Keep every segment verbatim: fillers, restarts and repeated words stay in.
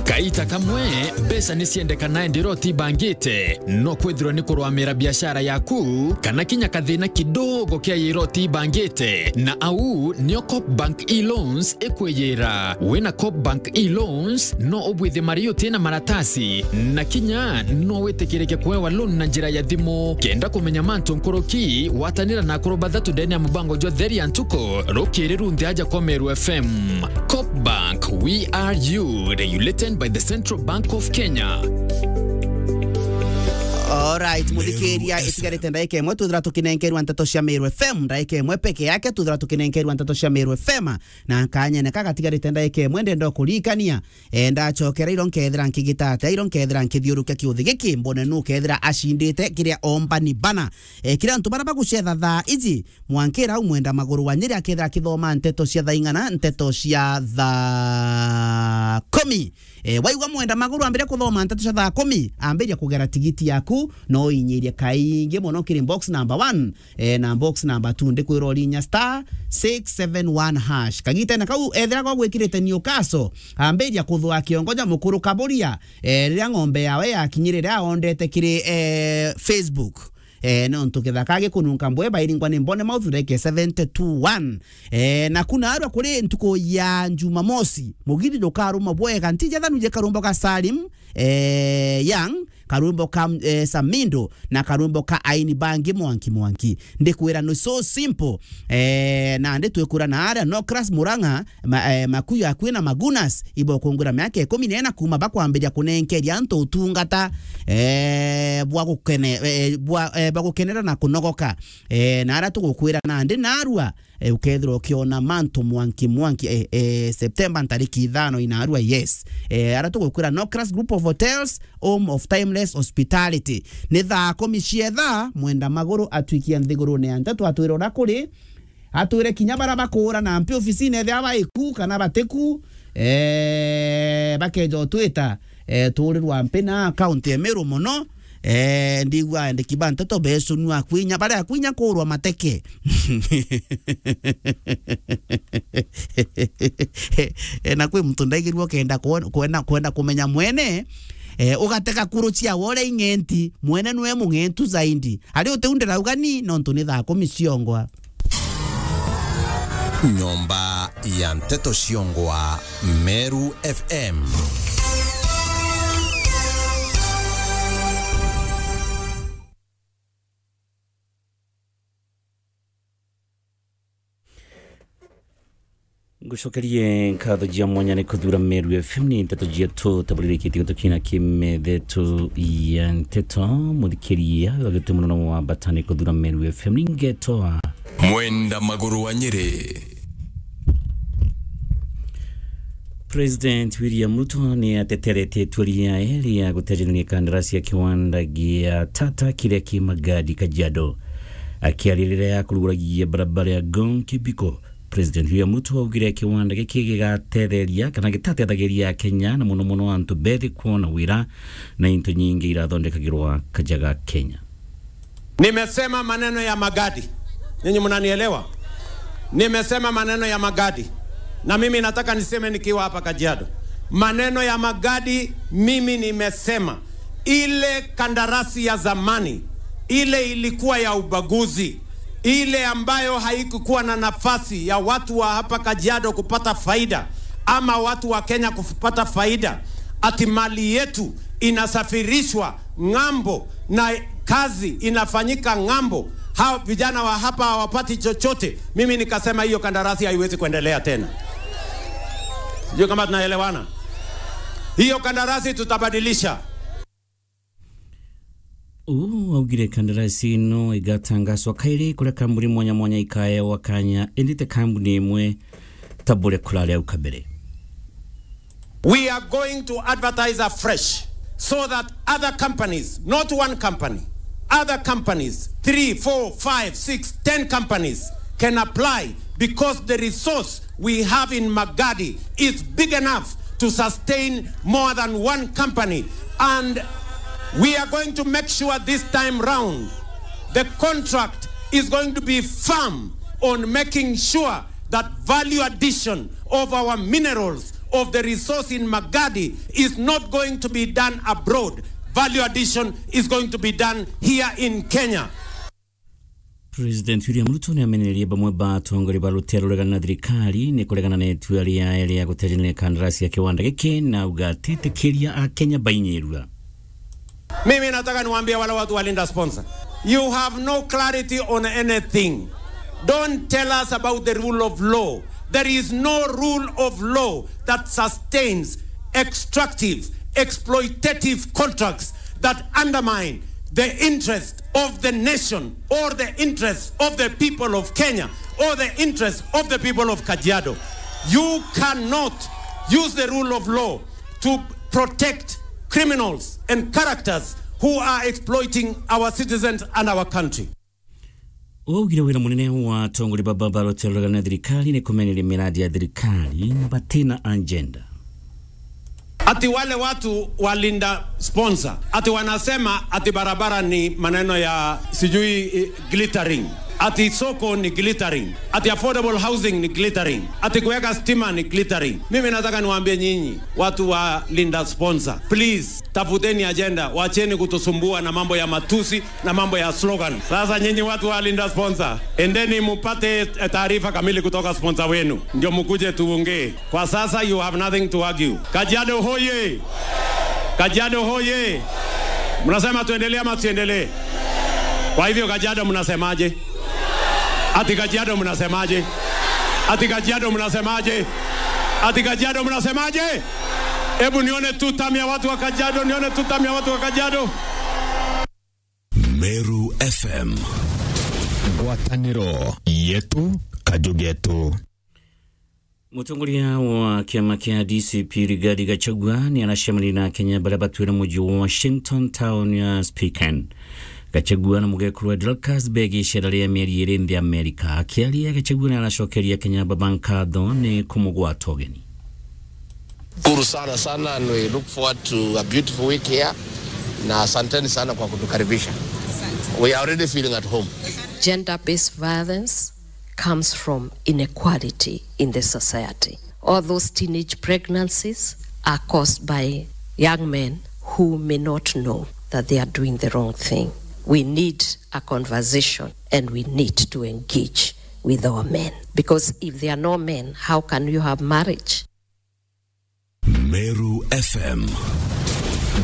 Kaita kamwe, mbeca ni ciendekana indi irotibangite. No kwithirwa ni kurwamira biashara yaku, kana kinya kathina kidogo kia irotibangite. Na au nio Coop Bank e-loans ikwiyira. Wina Coop Bank e-loans, no ubwithie mari utina maratasi, na kinya no witikirike kuewa loan na njira ya thimu. Kenda kumenya mantu nkuruki, watanira na akuru bathatu ndene ya mubango jwa Theri ya Ntuku, rukiri runthe aja kwa Meru F M. Coop Bank, we are you, regulated by the Central Bank of Kenya. Alright, muthikiria, itigarite ndaika imwe, twithira tukinenkerwa nteto cia Meru F M, ndaika imwe peke yake, twithira tukinenkerwa nteto cia Meru F M, na kanyene ka gatigarite ndaika imwe, ndenda kuririkania, e, ndacokera iro nkethira nkigita atia, iro nkethira nkithiurukia kiuthi giki, mbone nu kethira acindite kiria ombani bana. E, kiria antu bara bagucetha thaa iji, mwankira au Mwenda Maguru wa Nyeri akethira akithoma nteto cia thaa ing'ana, nteto cia thaa kumi. E, waigua Mwenda Maguru ambiria kuthoma nteto cia thaa kumi, ambiria kugera tigiti yaku, no inyirie kaingi mono kiri box number one, e, na box number two, ndikwira urinya star six seven one hash. Kagitene kau, ethira gwa gwikirite Newcastle, ambiria kuthua kiongo ja mukuru kaburia, e, riria ng'ombe yawe yakinyire riria aondete kiri, e, Facebook. E, nontu githaka gikununka mbwe bairingwa ni mbone mouth ndeke seventy two one. E, na kuna arwa kuri ntuku ya Jumamosi, mugithi jukaruma bwega, ntija thanu je karumbo ka Salim, e, Young, karwimbo ka, eh, Samindo na karwimbo ka Aini Bangi Mwanki Mwanki. Ndikwira ni so simple. Eh, na ndi twikura na aria Nocras Murang'a, ma, eh, Makuyu akui na Magunas, ibo kungwira miaka ikumi na ina kuma bakwambiria kunenkeria antu utungata, eh, bwa gukene, eh, bwa, eh, bwa gukenera na kunogoka. Eh, na aria tugukwira nandi narua, eh, ukethirwa ukiona mantu mwanki mwanki, eh, eh, September ntariki ithano inarua, yes. Eh, ara tugukwira Nocras Group of Hotels, home of timeless hospitality. Ni thaa kumi cietha, Mwenda Maguru atwikia nthigurune ya nteto, atwire uria kuri, atwire kinya bara bakuura na mpi ofisine ethia baiku kana batiku, eh, bakeja utwita, eh, tuurirwa mpi na account ya Meru mono, eh, ndigua endeki ba nteto beecunua kwinya, baria kwinya kuurwa mateke. Eh, na kwi muntu ndaigirua ukenda kuona, kwenda, kwenda kumenya mwene, eh, ugateka kuru cia wore ing'enti, mwene nwe mung'entu zaidi. Ari utiu ndirauga ni, nontu ni thaa kumi ciongwa. Nyomba ya nteto ciongwa, Meru F M. Ngucokerie nkatho cia mwanya ni kuthura Meru F M, ni nteto cietu taburirikitie gutukina kimethe tu ya nteto. Muthikiria, wagite muno na wa bata ni kuthura Meru F M, ni ngeto a Mwenda Maguru wa Nyeri. President William Ruto ni ateterete itua riae ria gutejaniria kandarasi ya kiwanda gia Tata kiria ki Magadi Kajiado. Akiaria riria akuruguragia barabara ya Ngong Kibiko, President William Ruto augire kiwanda giki gigatetheria kana gitatethagiria Akenya na muno muno antu bethi kuona wira na into nyingi irathondekagirwa kaja ga Kenya. Nimesema maneno ya Magadi. Nyinyi mnanielewa? Nimesema maneno ya Magadi. Na mimi nataka niseme nikiwa hapa Kajiado. Maneno ya Magadi, mimi nimesema ile kandarasi ya zamani, ile ilikuwa ya ubaguzi, ile ambayo haikukuwa na nafasi ya watu wa hapa Kajiado kupata faida ama watu wa Kenya kupata faida, ati mali yetu inasafirishwa ng'ambo na kazi inafanyika ng'ambo, hao vijana wa hapa hawapati chochote. Mimi nikasema hiyo kandarasi haiwezi kuendelea tena. Sijui kama tunaelewana. Hiyo kandarasi tutabadilisha. Uu augire kandarasi ino igatangaswa kairi kuria kambuni mwanya mwanya ikaewa kanya, indi ti kambuni imwe ta buria kurari au kabere. We are going to advertise afresh so that other companies, not one company, other companies, three, four, five, six, ten companies can apply, because the resource we have in Magadi is big enough to sustain more than one company. And we are going to make sure this time round the contract is going to be firm on making sure that value addition of our minerals, of the resource in Magadi is not going to be done abroad. Value addition is going to be done here in Kenya. President William Ruto ni amenererie bamwe ba atongoria ba rutere ruregana na thirikari ni kuregana na itua riae ria gutejanira kandarasi ya kiwanda giki, na auga atitikiria Akenya bainyirua. Mimi nataka niwaambie wale watu wa Linda Sponsor, you have no clarity on anything. Don't tell us about the rule of law. There is no rule of law that sustains extractive, exploitative contracts that undermine the interest of the nation or the interest of the people of Kenya or the interest of the people of Kajiado. You cannot use the rule of law to protect criminals and characters who are exploiting our citizens and our country. Waugire wira munene wa atongoria baba ba rutere ruregana na thirikari ni kumeneria miradi ya thirikari na batina agenda. Ati wale watu wa Linda Sponsor, ati wanasema ati barabara ni maneno ya sijui, eh, glittering, ati soko ni glittering, ati affordable housing ni glittering, ati kuweka stima ni glittering. Mimi nataka niwaambie nyinyi watu wa Linda Sponsor, please, tafuteni agenda, wacheni kutusumbua na mambo ya matusi na mambo ya slogan. Sasa nyinyi watu wa Linda Sponsor, endeni mupate, eh, taarifa kamili kutoka sponsor wenu, ndio mkuje tuongee. Kwa sasa, you have nothing to argue. Kajiado hoye! Kajiado hoye! Mnasema tuendelee ama tusiendelee? Kwa hivyo, Kajiado mnasemaje? Ati Kajiado mnasemaje? Ati Kajiado mnasemaje? Ati Kajiado mnasemaje? Hebu nione two term ya watu wa Kajiado, nione two term ya watu wa Kajiado. Meru F M. Ngwataniro yetu, kaju getu. Mutongoria wa kiama kia D C P Rigathi Gachagua ni aracemania na Akenya baria batwire muji wa Washington town ya Spokane. Gachagua na mugekuru wa Dorcas begi icera ria mieri iri nthi Amerika. Akiaria, Gachagua ni aracokeria Akenya baba nkatho ni kumugwata ugeni. Shukuru sana sana, and we look forward to a beautiful week here. Na asanteni sana kwa kutukaribisha. We are already feeling at home. Gender-based violence comes from inequality in the society. All those teenage pregnancies are caused by young men who may not know that they are doing the wrong thing. We need a conversation and we need to engage with our men. Because if there are no men, how can you have marriage? Meru F M.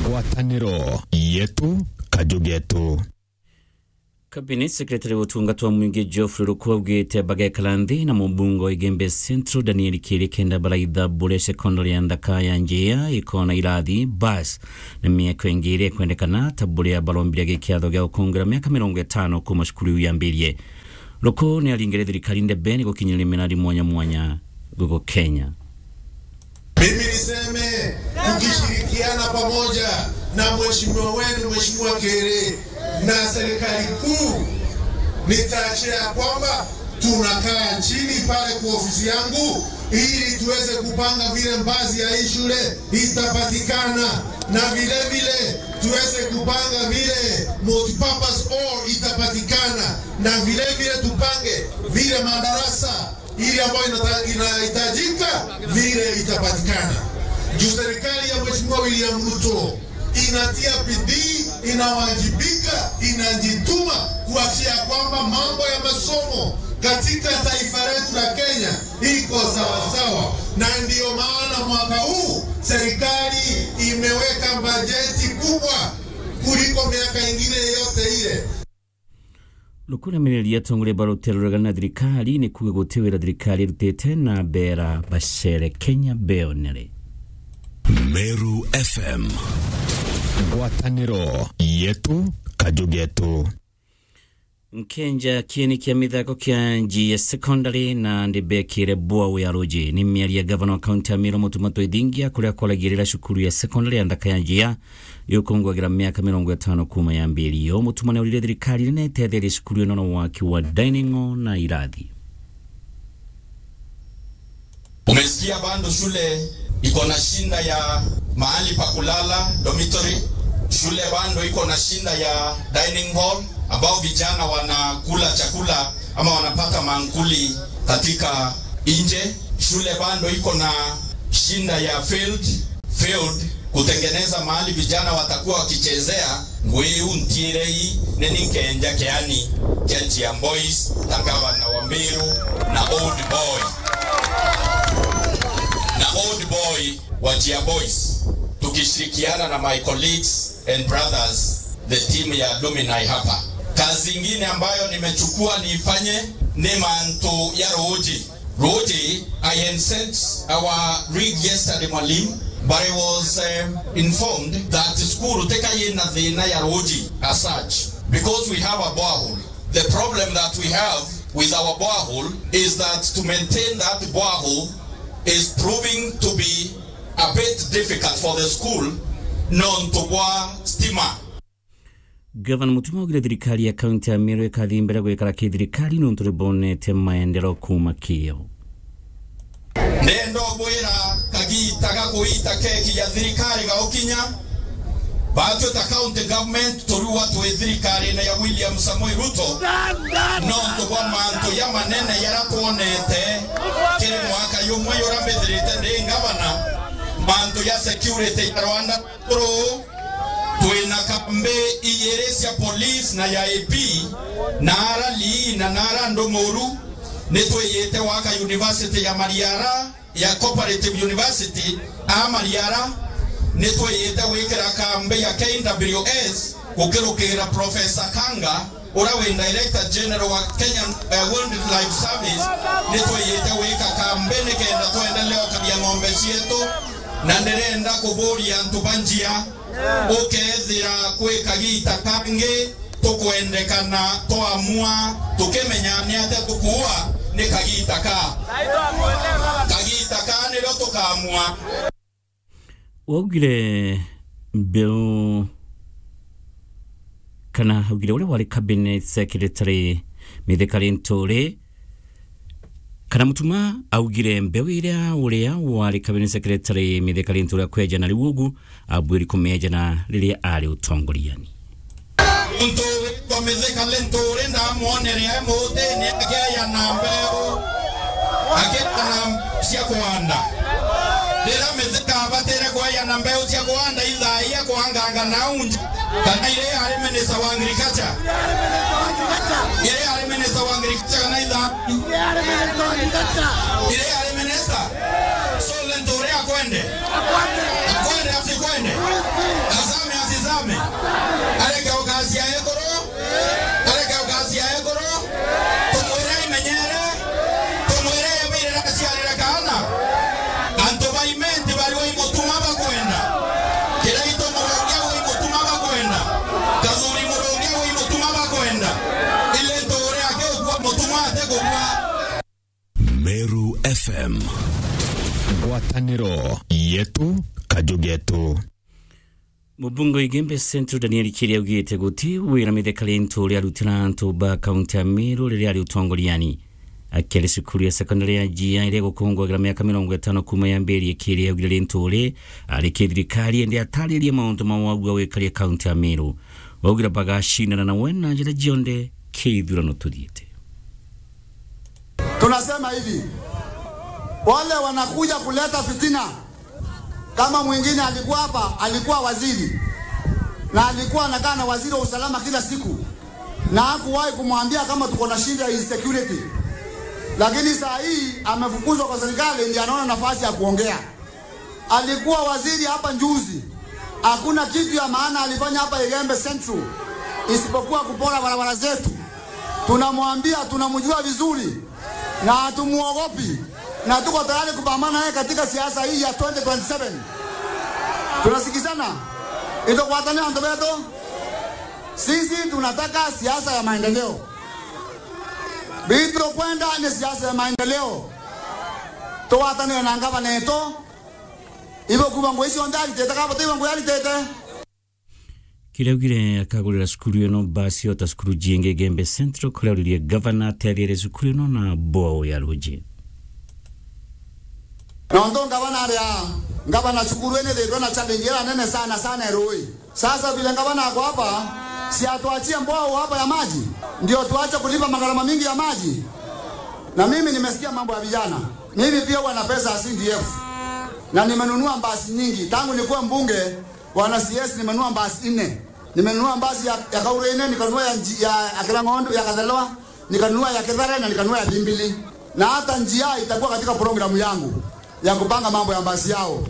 Ngwataniro yetu, kaju getu. Cabinet Secretary wa utungata wa mwingi Geoffrey Ruku augite bagekara nthi na mubunge wa Igembe Central Daniel Kiri kenda baraitha buria secondary ya nthaka ya Njia ikona irathi, bus na miako ingi iria ikwendekana, ta buria barombire gikiatho gia gukungira miaka mirongo itano kuma cukuru iu yambirie. Ruku ni aringire thirikari ndebe ni gukinyiriria miradi mwanya mwanya guku Kenya. Mimi niseme, tukishirikiana pamoja na mheshimiwa wenu, Mheshimiwa Kere, na serikali kuu, nitahakikisha ya kwamba tunakaa chini pale kwa ofisi yangu ili tuweze kupanga vile mbazi ya hii shule itapatikana, na vile vile tuweze kupanga vile multipurpose hall itapatikana, na vile vile tupange vile madarasa ili ambayo inata-, inahitajika vile itapatikana. Juu serikali ya Mheshimiwa William Ruto inatia bidii, inawajibika, inajituma kuhakikisha kwamba mambo ya masomo katika taifa letu la Kenya iko sawasawa, na ndiyo maana mwaka huu serikali imeweka bajeti kubwa kuliko miaka ingine yote ile. Ruku ni amenererie atongoria ba rutere ruregana na thirikari ni kuuga guti wira thirikari irutite na beera bacere Kenya beonere. Meru F M. Ngwataniro yetu, kaju getu. Nkenja kieni kia mithako kia Njia Secondary na ndibekire bwau ya ruji. Ni miario ya gavana wa kaunti ya Meru Mutuma Twithingia, kuria kwaragirira cukuru ya secondary ya nthaka ya Njia yukungwagira miaka mirongo itano kuma yambirio. Mutuma ni aurire thirikari nene itetherie cukuru ino na waki wa dining hall na irathi. Umesikia bado shule iko na shinda ya mahali pa kulala, dormitory. Shule bado iko na shinda ya dining hall, ambao vijana wanakula chakula ama wanapata mankuli katika nje. Shule bado iko na Shinda ya field, field, kutengeneza mahali vijana watakuwa wakichezea, ngwiu ntiirei, ni ninkenja kiani kia Chia Boys, ta gavana wa Meru, na old boy, na old boy wa Chia Boys, tukishirikiana na my colleagues and brothers, the team ya alumni hapa. Kazi ingine ambayo nimechukua niifanye ni mantu ya ruuji. Ruuji, I had sent our rig yesterday, Mwalimu, but I was, um, informed that school teka yina thina ya ruuji as such, because we have a borehole. The problem that we have with our borehole is that to maintain that borehole is proving to be a bit difficult for the school, nontu bwa stima. Gavana Mutuma augire thirikari ya kaunti ya Meru ikathi mbere gwikara ki thirikari nontu ni bonete maendeleo kuuma kio. Ndenda ubwira kagita ga kuita keki ya thirikari gaukinya, batwi ta county government turua twi thirikarine ya William Samoei Ruto, nontu bwa mantu ya manene yara twonete kiri mwaka yumwe yura mbithirite ndi gavana, mantu ya security ya Rwanda. Ruu, twina kambi ijiri cia police na ya A P, na ara Lii na nara Ndumuru, ni twiyite waka university ya Mariara, ya Cooperative University a Mariara, ni twiyite wikira kambi ya K W S gukirukira Professor Kanga, uria wi Director General wa Kenyan, eh, Wildlife Service, ni twiyite wika kambi nikenda twendelee ukaria ng'ombe cietu, na ndirenda kuburia antu ba Njia, ukethira kwi kagita kangi tukwendekana twamua tukimenya ni atia tukuua, ni kagita ka, kagita ka nirio tukamua. Waugire mbeu kana augire uria wari cabinet secretary Mithika Linturi, kana Mutuma augire mbeu iria uria wari cabinet secretary Mithika Linturi akweja na riu ugu abwiri kumeja na riria ari utongoriani. Muntu witwa Mithika Linturi ndamwonere e mutini akeyana mbeu, akeyana mbeu cia kuanda. Riria Mithika abatire kweyana mbeu cia kuanda, ithaa ia kuanganga nau nja, kana iria ari minister wa agriculture? Iria ari minister wa agriculture kana ithaa? Iria ari minister. So Linturi akwende? Akwende asikwende? Asame asisame? Areke ukacia ekuru, areke ukacia ekuru, tumwire imenyere, tumwire ebirira aciarire kaana. Antu ba Imenti bari wa Imutuma bakwenda. Kiraitu Murungi wa Imutuma bakwenda. Kathuri Murungi wa Imutuma bakwenda. Ile Linturi akigua Mutuma atigugua. Meru F M. Ngwataniro yetu, kaju getu. Mubunge wa Igembe Central Daniel Kiria augite guti wira Mithika Linturi arutira antu ba kaunti ya Meru riria ari utongoriani. Akiari cukuru ya sekondari ya Njia iria igukungwagira miaka mirongo itano kuuma yambirie, Kiria augire Linturi ari ki thirikari indi ataririe mauntu ma wagu a wikaria kaunti ya Meru. Waugire bagacindana nawe na njira cionthe ki ithurano tuthiite. Tunasema hivi, wale wanakuja kuleta fitina, kama mwingine alikuwa hapa, alikuwa waziri, na alikuwa anakaa na waziri wa usalama kila siku, na hakuwahi kumwambia kama tuko na shida ya insecurity. Lakini saa hii amefukuzwa kwa serikali, ndiye anaona nafasi ya kuongea. Alikuwa waziri hapa juzi, hakuna kitu ya maana alifanya hapa Igembe Central isipokuwa kupora barabara zetu. Tunamwambia, tunamjua vizuri na hatumuogopi, na tuko tayari kupambana naye katika siasa hii ya twenty twenty-seven. Tunasikizana? Itugwatane antu betu. Sisi tunataka siasa ya maendeleo. Bitu kwenda ni siasa ya maendeleo. Tugwatanire na ngavana yetu. Ibo kuuga ngugi cionthe aritite, kaba tibo ngugi aritite. Kiria augire akagurira cukuru ino basi o ta cukuru jingi Igembe Central, kuria auririe gavana atetherie cukuru ino na bwao ya ruji. Nontu ngavana aria, ngavana, cukuru ino ithitwe na challenge iria nene sana sana ya ruji. Sasa vile ngavana ako hapa, si atuachie bwao hapa ya maji, ndio tuache kulipa magharama mingi ya maji? Na mimi nimesikia mambo ya vijana. Mimi pia huwa na pesa ya C D F. Na nimenunua mbasi nyingi. Tangu nikuwe mbunge wa N C S, nimenunua mbasi nne. Nimenunua mbasi ya, ya Kaurene, nikanunua ya, Nji- ya, ya Kirang'ondu, ya Kathelewa, nikanunua ya Kithare, na nikanunua ya Thimbili. Na hata njia itakuwa katika programu yangu ya kupanga mambo ya mbasi yao.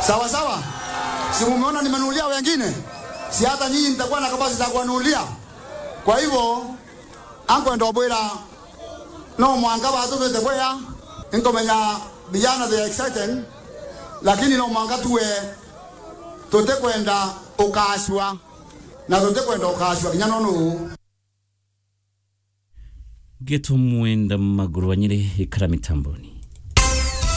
Sawa sawa? Si mumeona nimenunulia wengine? Si hata nyinyi nitakuwa na kabasi za kuwanunulia? Kwa hivyo, ankwenda ubwira, no mwanka batumite bwea, inkumenya vijana they are excited, lakini no mwanka tuwe tutikwenda ukashwa, na tutikwenda ukashwa kinya nonu. Geto Mwenda Maguru wa Nyeri ikara mitamboni.